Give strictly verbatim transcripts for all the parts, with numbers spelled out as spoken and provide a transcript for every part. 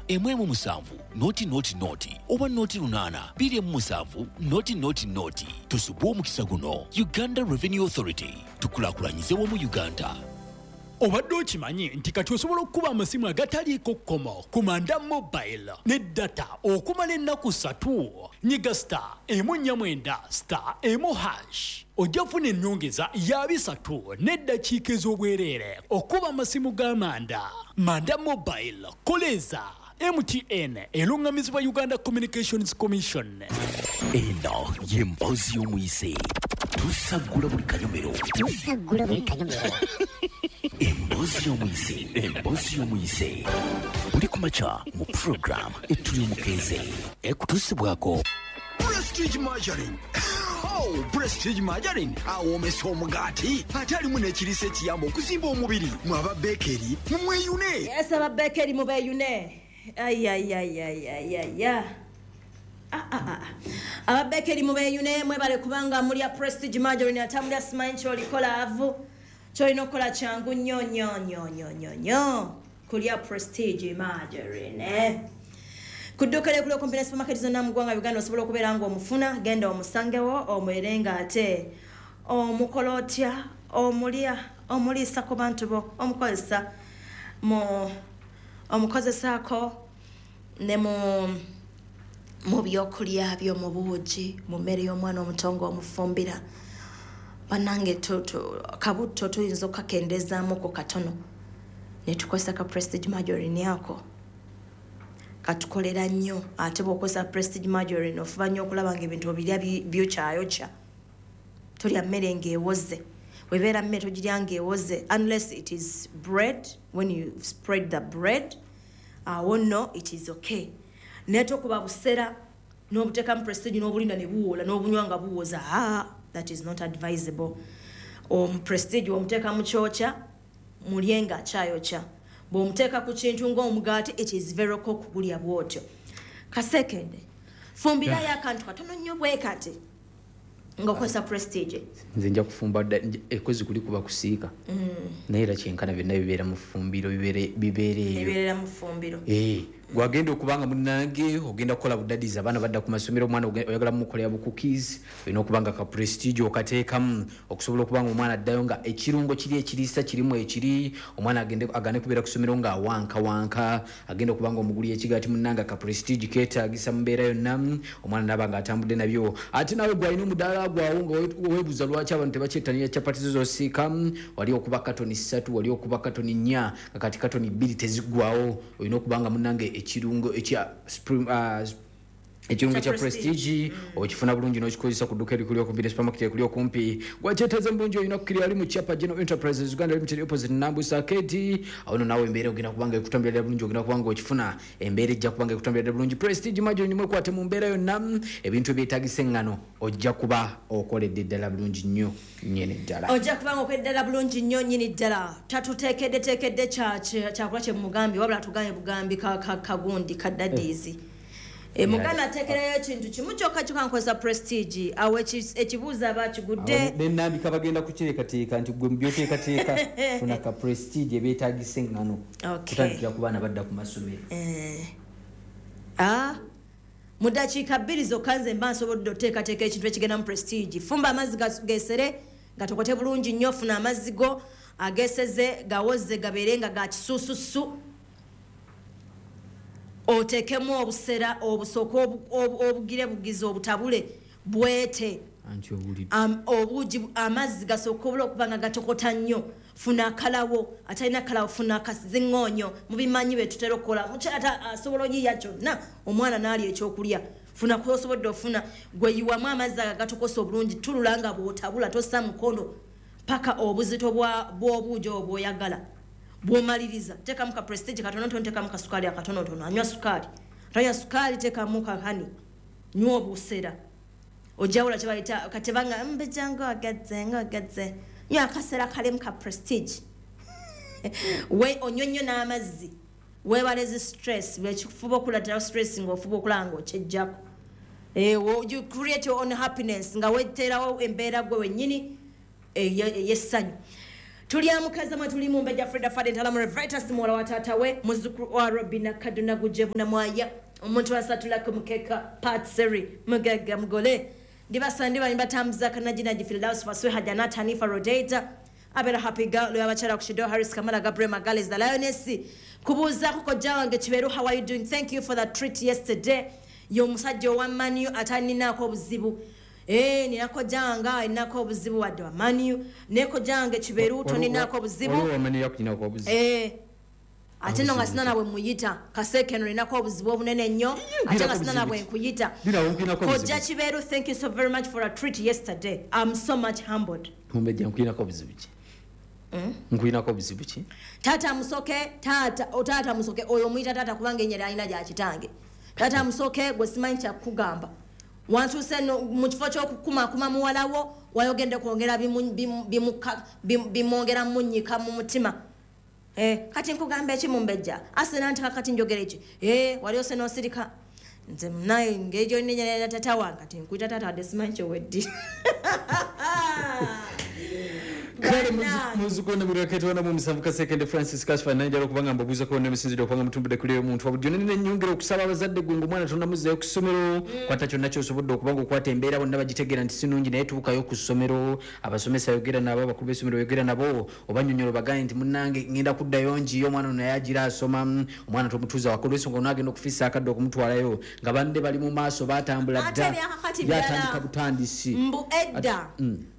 emu emu musanvu noti noti noti oba noti lunaana bbiri emu musanvu noti noti noti. Tusubwe omukisa guno. Uganda Revenue Authority, tukulaakulanyize wamu Uganda. Obadde okimanyi nti kati osobola okukuba amasimu agataliiko kkomo ku Manda Mobile ne data okumala ennaku ssatu? Nyiga star emu nnya mwenda star emu hash, ojja kufuna ennyongeza ya bisatu n'eddakiika ez'obwereere okuba amasimu ga Manda. Manda Mobile, koleeza. M T N eruŋŋamizibwa Uganda Communications Commission. Eno y'emboozi y'omuyise. Tusaggula buli kanyomero. Tusaggula buli kanyomero. Emboozi y'omuyise, emboozi y'omuyise, buli kumakya mu program Etuli Omukeeze, ekutuusibwako Prestige Margarine. Oh, Prestige Margarine awoomesa omugaati, ate alimu n'ekiriisa ekiyamba okuzimba omubiri. Mwe aba bakery, mumweyune. Yes, aba bakery mubeeyune. Ayayayayaya. Aba bakery mubeeyune, mwebale kubanga mulya Prestige Margarine. Atamulya simanyi kyolikola avu. Kyolina okukola kyangu nnyo nnyo nnyo nnyo nnyo nnyo, kulya Prestige Margarine ku dduuka lyekuli okumpi ne supermarket zonna mu ggwanga Uganda. Osobola okubeera ng'omufuna, genda omusangewo, omwere nga ate omukola otya, omulya, omuliisa ku bantu bo, omukozesa mu omukozesaako ne mu mu byokulya byo, mu buugi, mu mmere y'omwana omuto ng'omufumbira. Bannange, tu- tu- kabutto tuyinza okukakendezaamuko katono ne tukozesa ka Prestige Margarine. Ako katukolera nnyo. Ate bw'okozesa Prestige Margarine, ofuba nnyo okulaba nga ebintu obirya bi- byokyayokya. Tolya mmere ng'ewoze. Webeera mmere, togirya ng'ewoze unless it is bread. When you spread the bread, awo nno it is okay. Naye tokuba busera n'obuteekamu Prestige n'obulinda ne buwola n'obunywa nga buwoza. Ah, that is not advisable. Omu Prestige omuteeka mu kyokya, mulye nga akyayokya. Bw'omuteeka ku kintu ng'omugaati, it is very okay okugulya bw'otyo. Kasekende, fumbirayo akantu katono nnyo bwe kati ng'okozesa Prestige. Nze nja kufumba dda- nja- ekozi kuli kuba kusiika, naye era kyenkana byonna bibeera mu ffumbiro, bibeere bibeera eyo. Ebibeerera mu ffumbiro. Eh, gwagenda okubanga munange ogenda kukola budadies, abaana badda ku masomero, omwana oge- oyagala mumukolera bu cookies, olina okuba nga ka Prestige okateekamu okusobola okuba nga omwana addayo nga ekirungo kiri ekiriisa kirimu ekiri. Omwana agende agane kubeera ku ssomero nga awankawanka. Agenda okuba nga omuguli ekigaati, munange ka Prestige keetaagisa mu mbeera yonna, omwana naaba nga atambudde nabyo. Ate naawe gwalina omudaala gwawo nga we- weebuuza lwaki abantu tebakyettanira capati zo zosiika, wali okuba katoni ssatu, wali okuba katoni nnya, nga kati katoni bbiri teziggwawo, olina okuba nga munange ekirungo ekya Spring- ah, ekirungo Kya kya Prestige okifuna bulungi n'okikozesa ku dduka erikuli okumpi ne supermarket ekuli okumpi. Gwakyetaaza mu bulungi, olina kukiri ali mu Chapa General Enterprises Uganda Limited, opposite Nambusa Arcade. Awo no naawe embeera ogenda kubanga ekutambulira bulungi, ogenda kubanga okifuna, embeera ejja kubanga ekutambulira bulungi. Prestige Margarine, mwekwate mu mbeera yonna. Ebintu ebyetagisa eŋŋano, ojja kuba okoledde ddala bulungi nnyo nnyini ddala. Ojja kubanga okoledde ddala bulungi nnyo nnyini ddala. Tatuteekedde teekedde kyakola kyemugambye, wabula tugambye bugambi ka- ka- kagundi kaddadiizi. E, muganda ateekerayo ekintu kimu kyokka kyokka, nkozesa Prestige. Awo eki- ekibuuzo aba akigudde. Nenambika bagenda kukyekateeka nti gwe mubyoteekateeka funa ka Prestige ebyetagisa eŋŋano, Okay. kutandikira ku baana badda ku masomero. Eh. Ah, mu ddakiika bbiri zokka nze mba nsobodde oteekateeka ekintu ekigenda mu Prestige. Fumba amazzi gas- gesere gatokote bulungi nnyo. Funa amazzi go ageseze, gawoze, gabeere nga ga kisuususu, oteekemu obusera obusooka obu- obu- obugire bugizi, obutabule bwete. Anti owulidde. Am- obuugi, amazzi gasooka obula okuba nga gatokota nnyo. Funa akalawo, atalina kalawo funa akaziŋŋoonyo. Mubimanyi bye tutera okukola. Mukyala ata asobola oyiya kyonna, omwana n'alya ekyokulya. Funa kwosobodde ofuna, gwe yiwamu amazzi ago agatokosa obulungi, tulula nga bw'otabula, tossa mukono paka obuzito bwa- bw'obuugi obwo bw'oyagala. Bw'omaliriza, teekamu ka Prestige katonotono, teekamu kasukaali akatonotono. Anywa sukaali, tanywa sukaali, teekamu kakani, nywa obusera, ojawula kyebayita katebanga mbejja ngaogadze ngaogadze. Nywa akasera kalimu ka Prestige, we onywe nnyo n'amazzi, weebale zi stress. Lwekifuba okulatirawo stress ng'ofuba okulaba ng'okyejjako. Eh, wo- you create your own happiness nga weteerawo embeera gwe wennyini ey'essanyu. Tulyamukaza mwe tuli Mumbejja Frida Fadden Talamu Revitas muwala wa taata we, muzzukulu wa Robina Kaduna Gujebuna Mwaya, omuntu asatula ku mukeka Patseri Mugagga Mugole. Ndibasa ndiba nimbatambuza kanajina Firdaus Faswiha Janat Hanifa Rodeta Abera Happy Girl abakyala ku Harris Kamala Gabriel Magales the Lioness. Kubuuza kuko wange Kiberu, how are you doing? Thank you for the treat yesterday. Yo musajja owa Manu ataninaako obuzibu. Eh, ninako janga inako obuzibu wadde wa Manu. Neko jange Kiberu toninako obuzibu. Waliwo Manu yakulinako obuzibu. Eh. Ate no nga sina nabwe muyita. Kaseke no ninako obuzibu obunene nnyo. Ate nga sina nabwe nkuyita. Kojja Kiberu, thank you so very much for a treat yesterday. I'm so much humbled. Mumbejja nkulinako obuzibu ki? Mm? Nkulinako obuzibu ki? Tata musoke, tata, o tata musoke oyo muyita tata kubanga ennyere alina gya kitange. Tata musoke gwe simanyi kya kugamba. Wantuuse no mu kifo ky'okukumaakuma muwalawo wayogedde kwongera bimwongera munnyika mu mutima. Eh, kati nkugamba eki Mumbejja? Asena nti kakati njogera eki? Eh, wali ose n'osirika. Nze naye ngeri gy'onnenyera tata wange kati nkuyita tata wadde simanyi ky'oweddi. Kale muzuko namuraketwa mu musanvu Kasekende Francis Kashfa nanjala okubanga mbabuuza ko n'emisinziro okubanga mutumbudde kuli omuntu wabudde nene nnyongera okusaba abazadde gwe ng'omwana tonnamuzzayo ku ssomero kwata kyonna ky'osobodde okubanga okwata embeera bonna bagitegeera nti si nnungi naye tubukayo ku ssomero abasomesa yogera nabo abakulu b'essomero yogera nabo obannyonnyola obagambe nti munnange ngenda kuddayo ngiyo omwana ono naye agira asoma omwana tomutuuza waka olw'ensonga onaagenda okufiisa akadde okumutwalayo nga banne bali mu maaso batambula dda yatandika butandisi mbu edda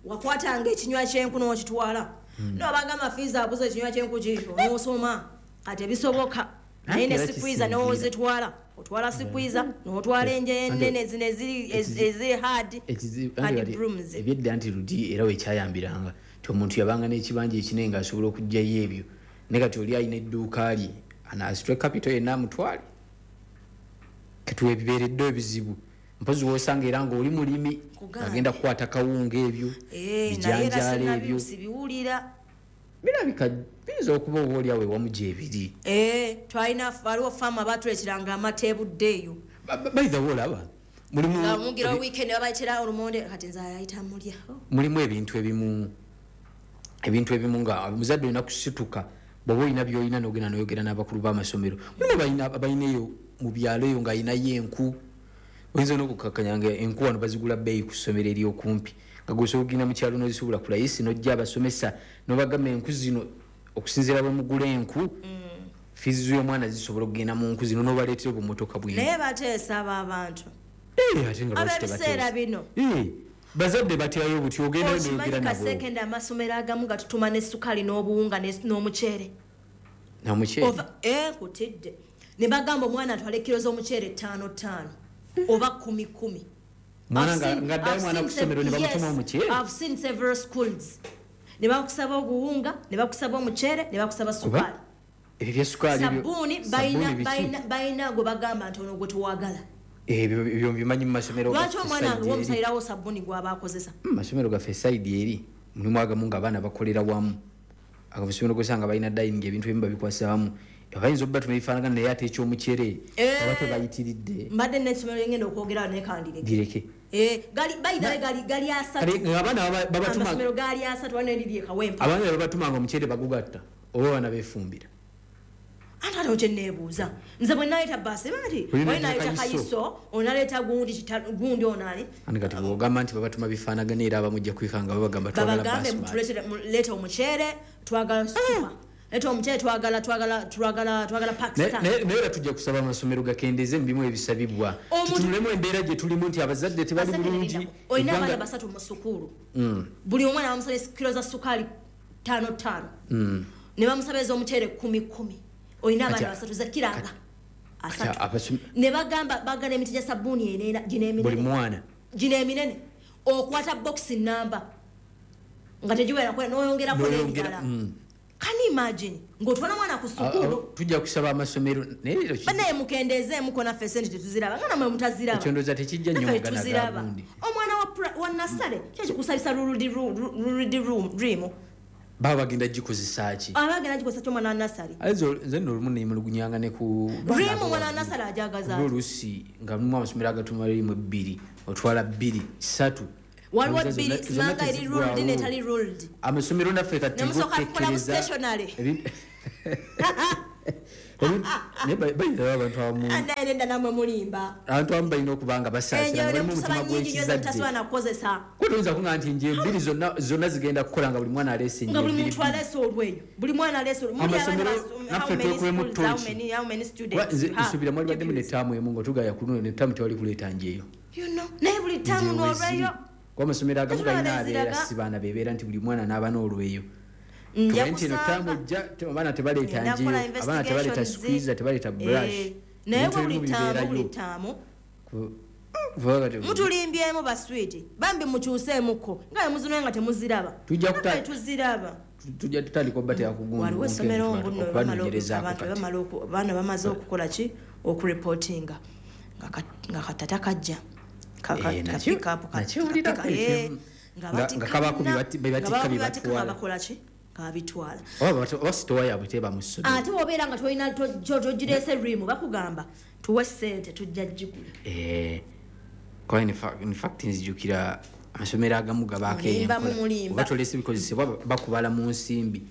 wakwatanga ekinywa ky'enku n'okitwala n'obagamba fiiza abuze ekinywa ky'enku kikyo n'osoma kati ebisoboka naye ne sikwiza n'ozitwala otwala sikwiza n'otwala enje ennene zino eziri hard hard brooms. Ebyedda nti ludi era wekyayambiranga nti omuntu yabanga n'ekibanja ekinene ng'asobola okuggyayo ebyo naye kati oli alina edduuka lye anaasitwe capital yenna amutwale kati webibeeredde ebizibu mpozi wosanga era ng'oli mulimi agenda kukwata kawunga ebyo bijanjaalo ebyo sibiwulira birabika biyinza okuba oba oli awo ewamu gyebiri. Twalina waliwo faamu abaatuleeteranga amata ebudde eyo. By the way olaba mulimu nga mugira weekend babayitira olumonde kati nze ayita mulya mulimu ebintu ebimu ebintu ebimu nga omuzadde olina kusituka bw'oba olina by'olina n'ogenda n'oyogera n'abakulu b'amasomero mulimu abalina eyo mu byalo eyo ng'alinayo enku oyinza n'okukakkanya nga enku wano bazigula bbeeyi ku ssomero ery'okumpi nga gw'osobola okugenda mu kyalo n'ozisuubula ku layisi n'ojja abasomesa n'obagamba enku zino okusinziira bwe mugula enku fiizi z'omwana zisobola okugenda mu nku zino n'obaleetera obumotoka bwino. Naye bateesa abo abantu ab'ebiseera bino bazadde batyayo buti ogenda n'oyogera nabo. Kasekende amasomero agamu gatutuma ne ssukaali n'obuwunga n'omuceere. N'omuceere? Eh, nkutidde ne bagamba omwana atwale kiro z'omuceere ttaano ttaano oba kumi kumi. Mwana nga mwana kusomero ne bamutuma omuceere. I've seen several schools ne bakusaba oguwunga ne bakusaba omuceere ne bakusaba sukaali. Ebyo bya sukaali sabbuuni balina balina balina gwe bagamba nti ono gwe tuwagala. Ebyo ebyo mbimanyi mu masomero. Lwaki omwana w'omusalirawo sabbuuni gw'aba akozesa? Mu masomero gaffe side eri mulimu agamu ng'abaana bakolera wamu. Amasomero gosanga balina dining ebintu ebimu babikwasa wamu. Abayinza okuba tumebifaanagana naye ate eky'omuceere oba tebayitiridde. Mbadde n'essomero lyengenda okwogerawo naye kandireke. Gireke. Eh, gali bayidale gali gali asatu. Abaana babatuma amasomero gali asatu wano eriri e Kawempe. Abaana babatumanga omuceere bagugatta oba abaana beefumbira. Ate ate kye neebuuza nze bwe naleeta bbaasi bati wali naleeta kayiso onaleeta gundi gundi ono ani. Ani kati bw'ogamba nti babatuma bifaanagana era abamu ojja kwekanga babagamba twagala babagambe mutuleete omuceere twagala supa. Leeta omuceere twagala twagala twagala twagala Pakistan. Naye era tujja kusaba amasomero gakendeeze mu bimu ebisabibwa. Tutunulemu embeera gye tulimu nti abazadde tebali bulungi. Olina abaana basatu mu ssukuulu. Buli omwana bamusaba kiro za ssukaali ttaano ttaano. Ne bamusaba ez'omuceere kumi kumi. Olina abaana basatu za kiranga asatu. Ne bagamba bagala emiti gya sabbuuni eneena gino eminene. Buli mwana. Gino eminene. Okwata bokisi nnamba nga tegiwera n'oyongerako n'ebirala. Can you imagine? Ng'otwala mwana ku ssukuulu. Tujja kusaba amasomero naye leero banaye mukendeezeemu ko naffe essente tetuziraba nga nammwe mutaziraba. Ekyo ndowooza tekijja nnyo mu Ghana gagundi. Omwana wa nasale kyekikusabisa luludi rimu. Baba bagenda gikozesa ki? Abagenda gikozesa ki omwana wa nasale? Nze nno olumu neemulugunyanga ne ku rimu omwana wa nasale ajagaza. Oluusi nga mulimu amasomero agatuma rimu ebbiri otwala bbiri ssatu. Waliwo bbiri, simanga eri ruled netali ruled. Amasomero naffe kati nemusooka kukola mu stationary. Bayina abantu abamu nenda namwe mulimba. Abantu abamu balina okuba nga basaasira, balimu omutima gw'ekizadde. Tasobola nakukozesa. Kuba toyinza kuŋŋamba nti nje bbiri zonna zonna zigenda kukola nga buli mwana aleese nga buli muntu aleese olweyo, buli mwana aleese olweyo. Amasomero naffe twekulemu ttooki. Nsuubira mwali baddemu n'ettaamu emu nga tugaya ku luno n'ettaamu tewali kuleeta njeyo. Naye buli ttaamu n'olweyo. Kuba amasomero agamu galina abeera si baana bebeera nti buli mwana n'aba n'olweyo. Nti eno ttaamu ejja abaana tebaleeta njeyo, abaana tebaleeta squeezer, tebaleeta brush. Naye buli ttaamu buli ttaamu mutulimbyemu baswiti bambi mukyuseemukko nga bwe muzinoye nga temuziraba. Tuziraba tujja tutandika obbatera ku waliwo essomero mbuno abaana bamaze okukola ki, okureportinga nga katata kajja nga kabako bebatikka bakola ki, nga babitwala. Oba sitowa yaabwe teba mu ssomero. Ate bw'obeera nga tolina togireese rimu bakugamba tuwe ssente tujja gigula. Kuba in fact nzijukira amasomero agamu gabaako enkola oba toleese bikozesebwa bakubala mu nsimbi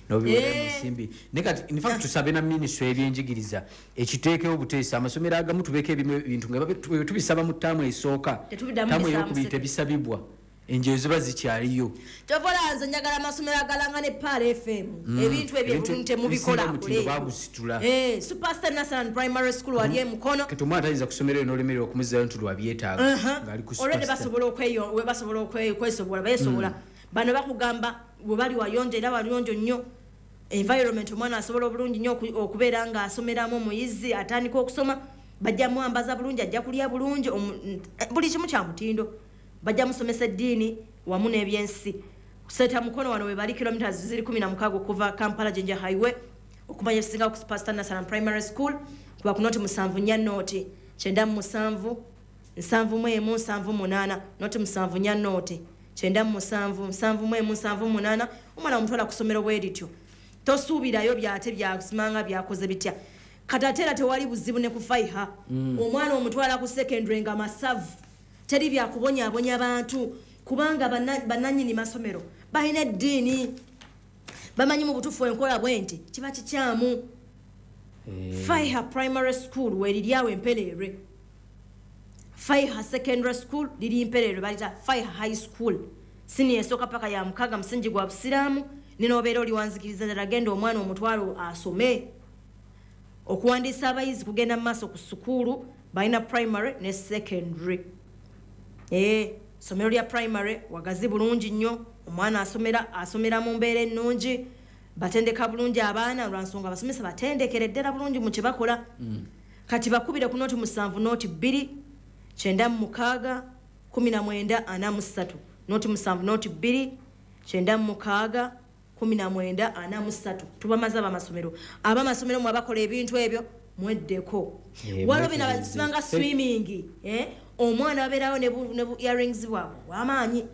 n'obiwera mu nsimbi. Naye kati in fact tusabe na minisitule y'ebyenjigiriza ekiteekewo obuteesa amasomero agamu tubeeko ebimu ebintu nga tubisaba mu ttaamu esooka, ttaamu ey'okubiri tebisabibwa, enjeyo ziba zikyaliyo. Tovola nze njagala amasomero agalanga ne Pearl F M ebintu ebyo ebintu temubikola bagusitula. Eh, Superstar National Primary School wali e Mukono. Kati omwana tayinza kusomera eyo n'olemererwa okumuzzayo nti lwabyetaaga ng'ali ku Superstar. Already basobola okweyo we basobola okwesobola beesobola. Bano bakugamba bwe bali wayonjo era waliyonjo nnyo. Environment omwana asobola obulungi nnyo okubeera nga asomeramu omuyizi atandika okusoma bajja mwambaza bulungi, ajja kulya bulungi, buli kimu kya mutindo. Bajja musomesa eddiini wamu n'ebyensi. Seta Mukono wano we bali kilometers ziri kumi na mukaaga okuva Kampala Jinja Highway okumanya ebisinga ku Superstar National Primary School kuba ku noti musanvu nnya noti kyenda mu musanvu nsanvu mu emu nsanvu munaana noti musanvu nnya noti kyenda mu musanvu nsanvu mu emu nsanvu munaana. Omwana omutwala ku ssomero bwe lityo tosuubirayo byate byasimanga byakoze bitya. Kati ate era tewali buzibu ne ku Faiha. Omwana omutwala ku secondary nga masavu teri byakubonyaabonya bantu kubanga bannannyini masomero balina eddiini bamanyi mu butuufu enkola bwe nti kiba kikyamu. Faiha Primary School weriri awo Empereerwe, Faiha Secondary School liri Mpereerwe, balita Faiha High School siniya esooka paka ya mukaaga musingi gwa busiraamu. Ninobeera oli wanzikiriza ddala genda omwana omutwalo asome. Okuwandiisa abayizi kugenda mu maaso ku ssukuulu balina primary ne secondary. Eh, somero lya primary wagazi bulungi nnyo, omwana asomera asomera mu mbeera ennungi, batendeka bulungi abaana lwa nsonga abasomesa batendekere ddala bulungi mu kye bakola. Kati bakubire ku noti musanvu noti bbiri kyenda mu mukaaga kumi na mwenda ana mu ssatu noti musanvu noti bbiri kyenda mu mukaaga kumi na mwenda ana mu ssatu. Tubamaze abamasomero abamasomero mwe abakola ebintu ebyo mweddeko. Waliwo bino abasimanga swimming, eh, omwana abeerawo ne bu earrings bwabwe wamaanyi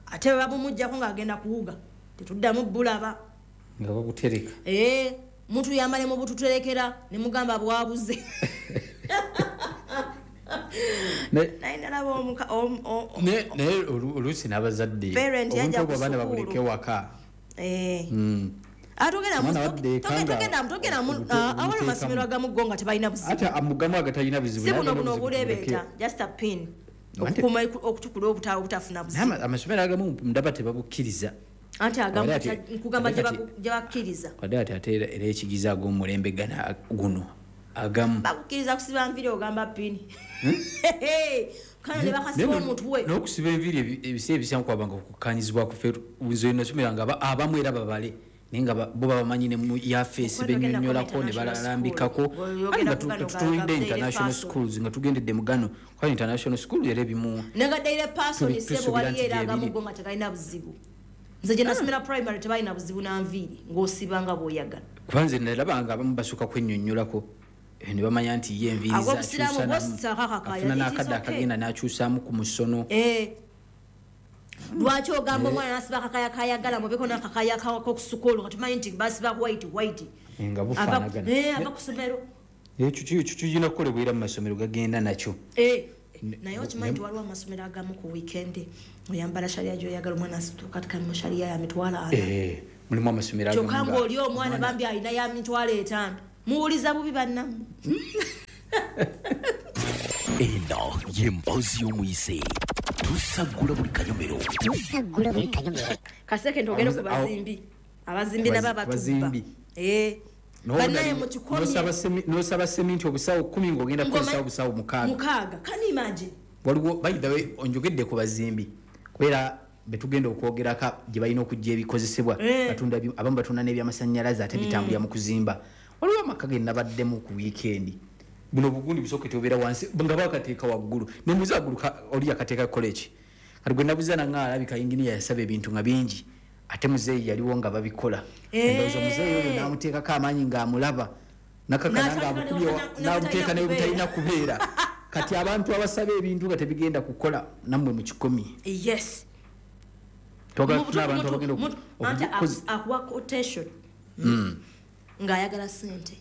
ate bwe babumuggyako ng'agenda kuwuga tetuddamu bulaba nga babutereka. Eh, muntu yamale mu bututerekera ne mugamba bwabuze. Naye nalaba omuka naye oluusi n'abazadde obuntu obwo abaana babuleke waka. Eh. Atogenda togenda awali masomero agamu go nga tebalina buzibu. Ate amugamu agatalina buzibu. Si buno buno obulebeeta just a pin. Okukuuma okutukula obutaawo obutafuna buzibu. Amasomero agamu ndaba tebabukkiriza. Anti agamu nkugamba gye bakkiriza. Wadde ate ate era ekigiza ag'omulembe gana guno agamu. Bakukkiriza kusiba nviiri ogamba pini. Kano ne bakasiba omutwe. N'okusiba enviiri ebiseera ebisinga kwabanga okukkaanyizibwa ku ffe nze nasomeranga abamu era babale. Naye nga bo babamanyi ne mu yafeesi bennyonnyolako ne balalambikako. Nga tutulidde international schools nga tugendedde mu gano kuba international school era ebimu. Nagaddeire person ssebo waliyo era agamu go nga tegalina buzibu. Nze gye nasomera primary tebalina buzibu na nviiri ng'osiba nga bw'oyagala. Kuba nze nalabanga abamu basooka kwennyonnyolako ne bamanya nti ye enviiri afuna n'akadde akagenda n'akyusaamu ku musono. Lwaki ogamba omwana n'asiba akakaya kayagala mubeko n'akakaya k'okusukoolo nga tumanyi nti basiba white white. Nga bufaanagana. Ava ku ssomero. Ekyo kirina kukolebwa era mu masomero gagenda nakyo. Naye okimanyi nti waliwo amasomero agamu ku weekend oyambala sharia gy'oyagala, omwana asituka kati mu sharia ya mitwalo ana. Eh, mulimu amasomero agamu kyokka ng'oli omwana bambi alina ya mitwalo etaano. Muwuliza bubi bannammwe. Eno ye mboozi y'omuyise. Tusaggula buli kanyomero. Tusaggula buli kanyomero. Kaseke ntogere ku bazimbi. Abazimbi nabo abatubba. Bazimbi. Eh. Bannaye mukikomye. N'osaba semi- n'osaba seminti obusawo kkumi ng'ogenda kukozesa obusawo mukaaga. Mukaaga. Can you imagine? Waliwo, by the way, onjogedde ku bazimbi, kubeera betugenda okwogerako gye balina okujja ebikozesebwa. Eh. Batunda bi- abamu batunda n'ebyamasanyalaze ate bitambulira mu kuzimba. Waliwo amaka ge nabaddemu ku wiikendi, buno bugundi busoketi obeera wansi nga bakateeka waggulu, nemuza waggulu ka- oli yakateeka kukola eki? Kati gwe nabuza nanga alabika inginiya yasaba ebintu nga bingi, ate muzeeyi yaliwo nga babikola. Eh. Endowooza muzeeyi oyo n'amuteekako amaanyi ng'amulaba nakakana N'atandika ng'amukubye ne- n'amuteeka ne- nebutalina kubeera. Kati abantu abasaba ebintu nga tebigenda kukola, nammwe mukikomi. Yes. Twagala Mu- tufune abantu mu- abagenda mu- oku- anti okukozi- aku- akuwa quotation ng'ayagala sente.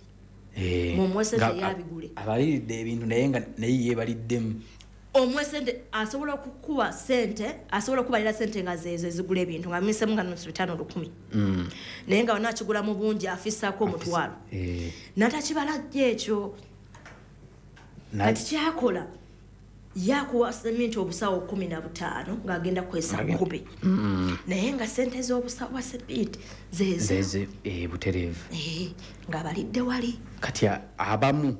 Eh, Mumuwe sente nga- yabigule. Abaliridde ebintu naye nga naye yeebaliddemu. Omuwe sente, asobola okukuwa sente, asobola okubalira sente nga zeezo ezigula ebintu nga misemu nga nusu bitaano lukumi, naye nga wona akigula mu bungi afisaako omutwalo. Eh, Natakibala jjo ekyo. na- Kati kyakola, yakuwa seminti obusawo kumi na butaano ng'agenda kukozesa kumi, naye nga sente z'obusawo bwa seminti zeezo. Zeeze, eh, butereevu. Eh, ng'abalidde wali. Kati a- abamu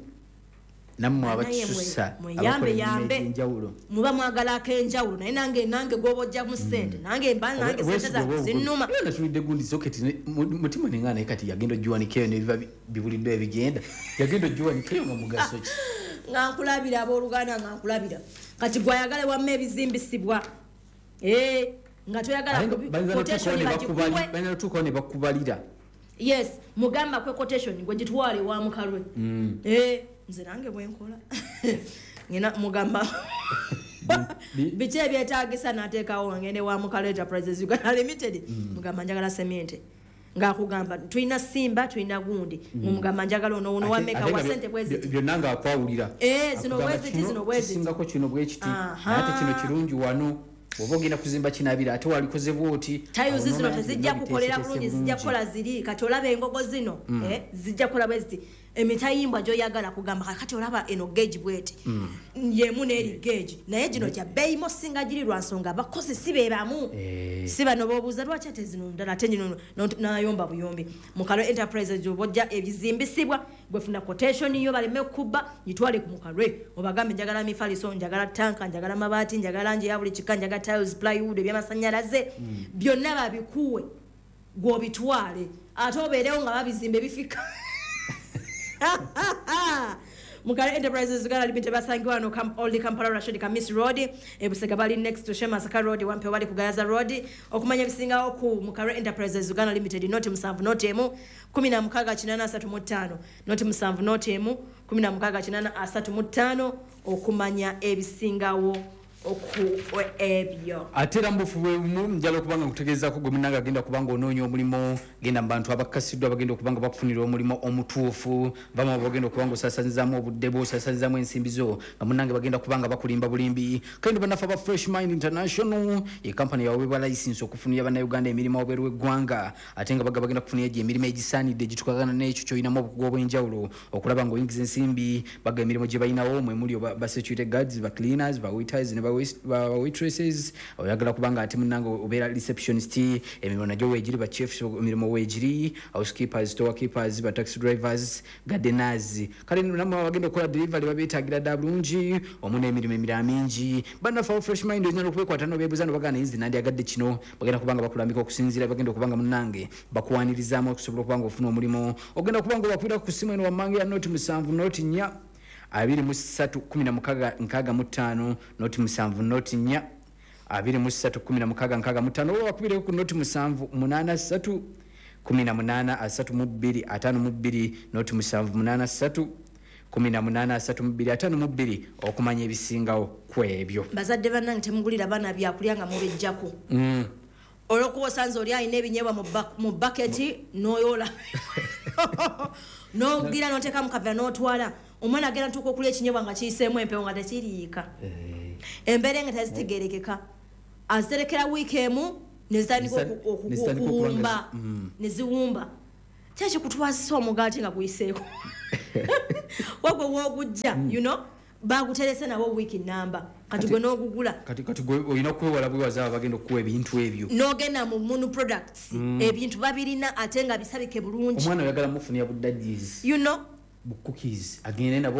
nammwe Naye abakisusa mwe- abakola mweyambe emirimu yambe. egy'enjawulo. Muba mwagala ak'enjawulo, naye nange nange gwoba ojjamu sente, nange mba nange sente zange zinnuma. Natulidde gundi soketi ne- mu- mutima nenga, naye kati yagenda ogiwanikeyo nebiba bi- bibuliddwa ebigenda, yagenda ogiwanikeyo nga mugaso ki? Nga nkulabira, abooluganda, nga nkulabira. Kati gwayagale wamma ebizimbisibwa. Eh, nga toyagala Ate nga kubi- bayinza quotation n'otuukawo ne bagikuwe. bakubali- bayinza n'otuukawo ne bakubalira. Yes, mugamba kwe quotation gwe gitwale wa mukalwe. Mm. Eh, nze nange bwenkola ngina mugamba Bi- biki ebyetagisa, nateekawo ngende wa Mukalwe Enterprises Uganda Limited. Mm. Mugamba njagala semente, ng'akugamba tulina simba, tulina gundi, mumugamba njagala ono ono Mm. Ate- wameka ate wa nga sente byo- bweziti. Byonna ng'akwawulira. Eh, zino Akugamba bweziti, kino zino bweziti. kisingako kino bwekiti, Aha. naye ate kino kirungi wano oba ogenda kuzimba kinabira, ate walikoze bwoti. Tayuzi Awo zino n'omanya nti tezijja byonna kukolera biteeseteese bulungi, zijja bulungi. kukola ziri. Kati olaba engogo zino, eh, zijja kukola bwe ziti. Emitayimbwa gy'oyagala kugamba kati olaba eno geegi bweti yemu n'eri geegi, naye gino gya bbeeyimo singa giri lwa nsonga abakozi si be bamu. Eh. Si bano b'obuuza lwaki ate zino ndala ate gino no- n'ayomba buyombi. Mukalwe Enterprises gy'oba ebizimbisibwa, gwe funa quotation yo baleme kukubba, gitwale ku Mukalwe obagambe njagala mifaliso, njagala tanka, njagala mabaati, njagala langi ya buli kika, njagala tiles, plywood, ebyamasanyalaze byonna babikuwe, gw'obitwale ate obeerewo nga babizimba ebifika. Mukalwe Enterprises Uganda Limited basangibwa wano Kam- Old Kampala, Rashid Kamis Road. Ebusega bali next to Shemasaka Road, Wampe bali ku Gayaza Road. Okumanya ebisingawo ku Mukalwe Enterprises Uganda Limited, noti musanvu noti emu kumi na mukaaga kinaana asatu mu ttaano, noti musanvu noti emu kumi na mukaaga kinaana asatu mu ttaano okumanya ebisingawo oku ebyo. Ate era mubufu bwebumu njala okuba nga nkutegeezaako gwe munange agenda kubanga onoonya omulimu, genda mu bantu abakasiddwa bagenda okuba nga bakufunira omulimu omutuufu. Bamu bagenda okuba nga osasanyizaamu obudde bwo, osasanyizaamu ensimbi zo, nga munange bagenda kuba nga bakulimba bulimbi. Kandi bannaffe aba Fresh Mind International ye kampani yaweebwa license okufunira bannayuganda emirimu wabweru w'eggwanga, ate nga baga bagenda kufunira gye emirimu egisaanidde egitukagana n'ekyo kyolinamu obukugu obw'enjawulo okulaba ng'oyingiza ensimbi. Baga emirimu gye balinawo mwe muli ba ba security guards, ba cleaners, ba waiters ne ba wais- ba waitresses. Oyagala kubanga ate munange obeera receptionist, emirimu nagyo weegiri, ba chefs emirimu weegiri, housekeepers, store keepers, ba taxi drivers, gardeners. Kale namwe abagenda okukola delivery babeetagira dda bulungi omu n'emirimu emirala mingi. Bannaffe abo Fresh Mind oyinza n'okubekwata nobeebuuza nobagana naye nze nandyagadde kino, bagenda kubanga bakulambika okusinziira, bagenda okubanga munnange bakuwanirizaamu okusobola okuba nga ofuna omulimu. Ogenda kuba nga obakubira ku simu eno wammanga ya noti musanvu noti nnya abiri mu ssatu kumi na mukaaga nkaaga mu ttaano, noti musanvu noti nnya abiri mu ssatu kumi na mukaaga nkaaga mu ttaano, oba bakubireko ku noti musanvu munaana ssatu kumi na munaana asatu mu bbiri ataano mu bbiri, noti musanvu munaana ssatu kumi na munaana asatu mu bbiri ataano mu bbiri okumanya ebisingawo ku ebyo. Bazadde bannange, temugulira baana byakulya nga mubijjako Mm. olwokuba osanze oli alina ebinyeebwa mu ba- mu baketi, noyola nogira noteeka mu kavera n'otwala. Omwana agenda ntuuka okulya ekinyobwa nga kiyiseemu empewo, nga tekiriika. Eh. Embeera nga tezitegerekeka, aziterekera wiiki emu nezitandika Nezita- oku- oku- nezitandika okuba nga okuwumba, zi- mm. neziwumba. Kyekikutwazisa omugaati nga guyiseeko wagwe woogujja, you know baguterese nawo wiiki namba, kati gwe n'ogugula. Kati kati gwe olina okwewala bwewaza abo bagenda okukuwa ebintu ebyo. N'ogenda mu Munu Products, ebintu babirina ate nga bisabike bulungi. Omwana oyagala mufunira bu daddies, you know bu cookies, agende nabo.